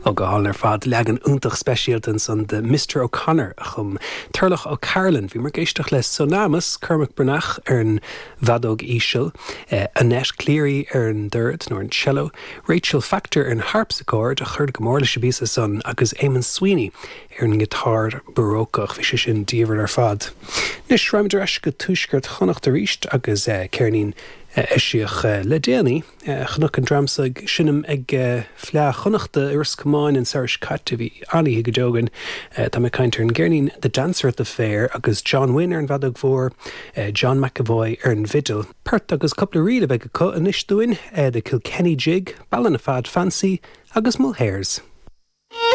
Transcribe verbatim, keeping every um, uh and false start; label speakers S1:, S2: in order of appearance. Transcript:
S1: Ó go hálainn ar fad leagan iontach speisialta ansan de Mr O'Connor a chum Turlough O'Carolan bhíomar ag éisteacht le Sonamus Cormac Breathnach ar an bhfeadóg íseal, eh, Annette Cleary ar an dord nó an cello, Rachel Factor ar an harpsichord a chuir go mór leis an bpíosa san agus Eamon Sweeney ar an ngiotár barócach bhí sé sin diamhair ar fad. Anois rachaimid ar ais go tuaisceart Chonnacht arís agus eh, ceirnín eisíodh eh, le déanaí chonac an dream seo ag seinm ag Fleadh Chonnachta i Ros Comáin an samhradh seo caite bhí an-oíche go deo againn Tá mé ag caint ar an gceirnín The Dancer at the Fair agus John Wynne ar an bhfeadóg mhór, John McAvoy ar an bhfidil. Port agus cúpla ríl a bheidh acu anois dúinn the Kilkenny Jig, Ballinafad Fancy agus Mulhairs.